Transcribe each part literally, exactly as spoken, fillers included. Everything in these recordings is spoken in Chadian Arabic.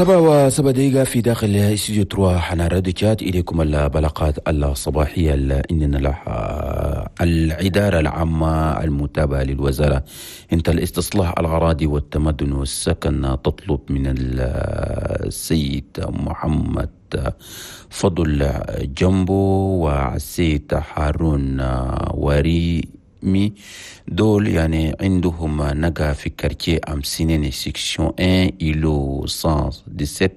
سبعة وسبع دقيقة في داخل استوديو تروا حنا راديو تشاد. إليكم البلاغات الصباحية. إننا لها الإدارة العامة المتابعة للوزارة انت الاستصلاح الأراضي والتمدن والسكن تطلب من السيد محمد فضل جنبو والسيد هارون وري مي دول يعني عندهم نقا في quartier أمسينين section واحد îlot مية وسبعة عشر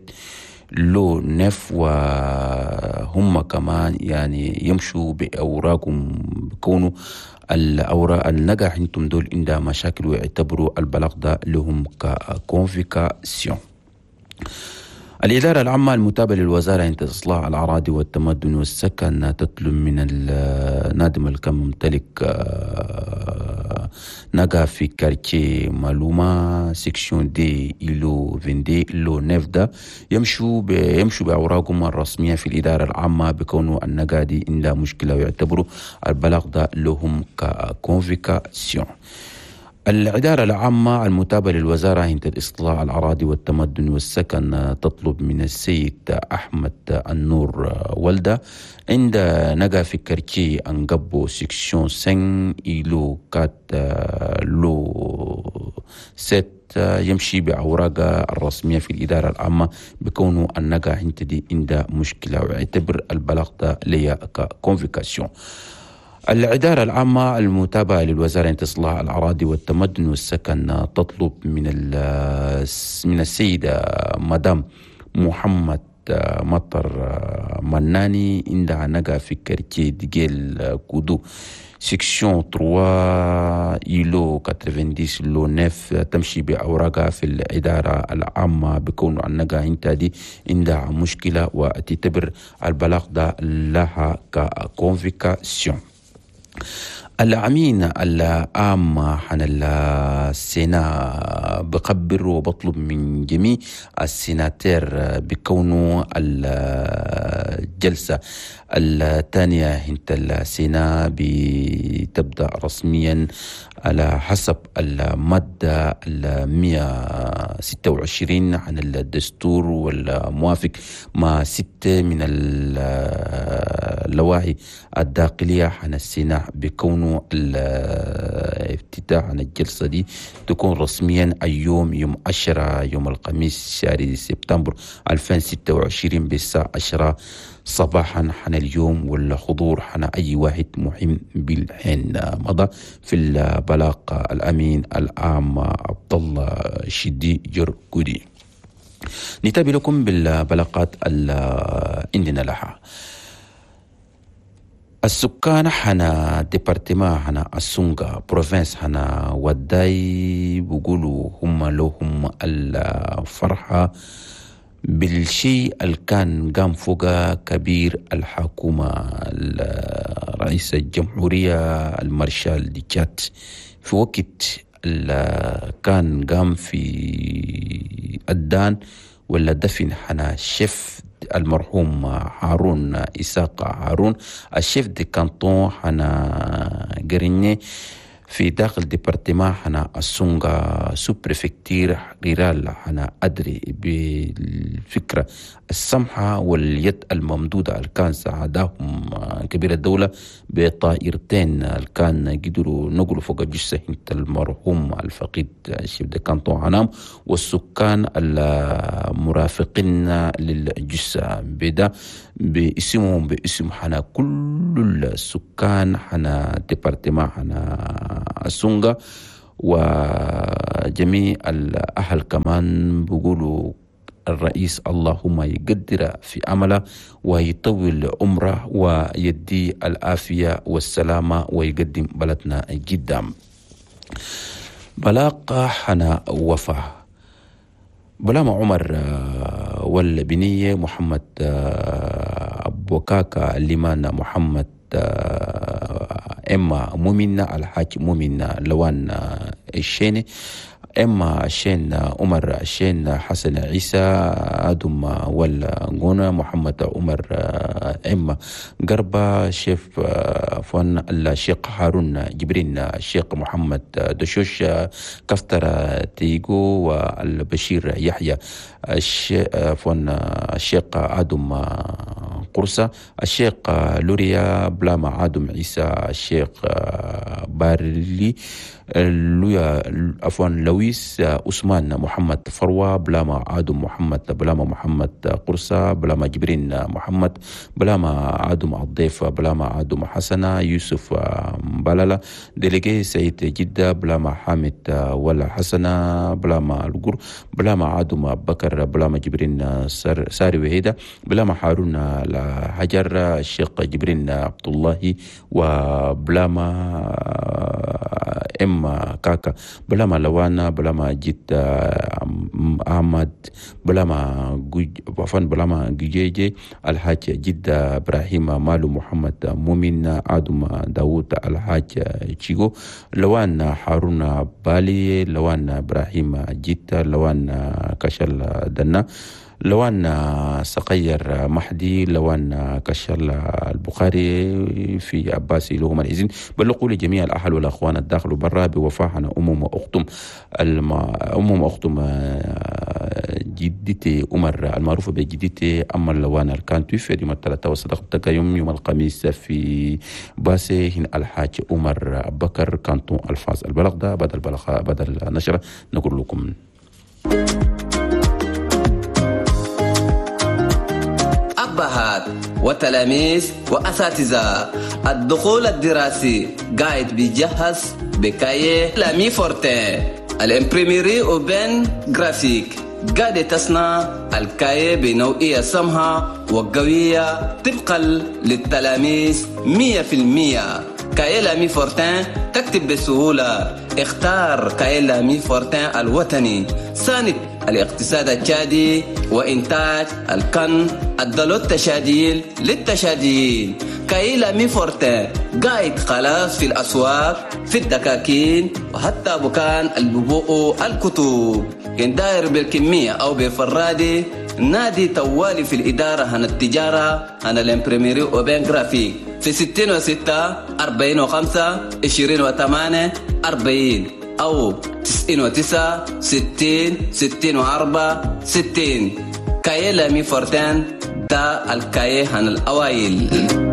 lot neuf، وهم كمان يعني يمشوا بأوراقهم، بكونوا الأوراق النقا عندهم دول عندها مشاكل، ويعتبروا البلاغ ده لهم ك convocation. الإدارة العامة المتابعة للوزارة عند إصلاح الأراضي والتمدن والسكن تطلب من النادم الكم ممتلك آه، نقا في quartier مالوما section deux îlot vingt-deux lot neuf ده يمشوا يمشوا بأوراقهم الرسمية في الإدارة العامة، بكونه النقا دي عندها مشكلة، ويعتبروا البلاغ ده لهم ك convocation. الإدارة العامة المتابعة للوزارة عند الإصلاح الأراضي والتمدن والسكن تطلب من السيد أحمد النور ولدة عند نقا في quartier أنقبو section خمسة îlot quatre lot sept يمشي بأوراق الرسمية في الإدارة العامة، بكونه النقا عند دي عند مشكلة، ويعتبر البلاغ ده ليا ك convocation. الإدارة العامة المتابعة للوزارة لإصلاح الأراضي والتمدن والسكن تطلب من من السيدة مدام محمد مطر مناني عندها نقا في quartier ديجيل كودو section ثلاثة îlot تسعين lot تسعة تمشي بأوراقها في الإدارة العامة، بكون النقا انت دي عندها مشكلة، وتعتبر البلاغ ده لها ك convocation. الأمين العام عن ال sénat بخبر وبطلب من جميع ال sénateurs بكونه الجلسة الثانية هنت ال sénat بتبدأ رسميا على حسب المادة المئة وستة وعشرين عن الدستور والموافق مع ستة من اللوائح الداخلية عن ال sénat، بكونه الافتتاح عن الجلسة دي تكون رسميا اليوم يوم عشرة، يوم الخميس شهر سبتمبر ألفين وستة وعشرين بالساعة عشرة صباحا حنا اليوم، والحضور حنا أي واحد مهم بالحين. مضى في البلاغ الأمين العام عبد الله شدي جرجودي. نتابع لكم بالبلاغات اللي عندنا لها. السكان حنا département حنا السونغا، province حنا وداي، بيقولوا هم لهم الفرحة بالشيء اللي كان قام فوق كبير الحكومة رئيس الجمهورية المارشال دي تشاد في وقت اللي كان قام في الدان ولا دفن حنا الشيف المرحوم هارون إساق هارون، ال chef de canton حنا قريني في داخل département حنا السونغا، sous-préfecture rurale حنا أدري، بالفكرة السمحة واليد الممدودة اللي كان ساعدهم كبير الدولة بطائرتين اللي كان قدروا نقلوا فوق الجثة المرحوم الفقيد chef de canton حنام والسكان المرافقين للجثة، بدا باسمهم باسم حنا كل السكان حنا département حنا السونغا وجميع الأهل. كمان بيقولوا الرئيس اللهم يقدر في عمله ويطول عمره ويدي العافية والسلامة ويقدم بلدنا قدام. بلاغ حنا وفاة بلاما عمر والبنية محمد أبو كاكا لمان محمد إما مؤمن الحاج مؤمن لوان الشيني إما الشين عمر الشين حسن عيسى آدم والغونا محمد عمر إما قربة شيف فون الشيخ هارون جبرين الشيخ محمد دشوش كفتر تيغو والبشير يحيى فون الشيخ آدم قرصة الشيخ لوريا بلاما آدم عيسى الشيخ بارلي لويا عفوا لويس عثمان محمد فروة بلاما آدم محمد بلاما محمد قرصة بلاما جبرين محمد بلاما آدم الضيف بلاما آدم حسنة يوسف بلالا ديليجي سيد جدة بلاما حامد ولا حسنة بلاما القر بلاما آدم بكر بلاما جبرين ساري وهيدا بلاما هارون الحجر الشيخ جبرين عبد الله وبلاما ام كاكا بلاما لوانا بلاما جيت احمد بلاما عفوا بلاما جيجي الحاج جدة ابراهيم مالو محمد مؤمن ادم داوود الحاج تشيغو لوان هارون بالي لوان ابراهيم جيت لوان كشل دنا لوان صقير محدي لوان كشل البخاري في عباسي لهم الإذن. بلغوا لجميع الأهل والأخوان الداخل وبرا بوفاحنا أمم وأختم الم... أمم وأختم جدتي عمر المعروفة بجدتي أما لوان الكانتوي في يوم الثلاثاء وصدق يوم يوم الخميس في باسي هنا الحاج عمر بكر كانتون الفاز البلغ ده بدل بلغ بدل نشرة نقول لكم. أبهات وتلاميذ وأساتذة، الدخول الدراسي قاعد بيجهز ب cahier L'Ami Fortin ال imprimerie Aubaine Graphique قاعدة تصنع ال cahier بنوعية سمحة وقوية طبقا للتلاميذ مية في المية. cahier L'Ami Fortin تكتب بسهولة. اختار cahier L'Ami Fortin الوطني ساند الاقتصاد التشادي وإنتاج الكن الدلو التشاديل للتشاديين. cahier L'Ami Fortin قاعد خلاص في الأسواق في الدكاكين وحتى بكان الببوء الكتب. كان داير بالكمية أو بفرادي نادي توالي في الإدارة هن التجارة هن ال imprimerie Aubaine Graphique في ستين وستة أربعين وخمسة عشرين وثمانية أربعين أو تسعين وتسعة ستين ستين وأربعة ستين. cahier L'Ami Fortin دا ال cahier هن الأوائل.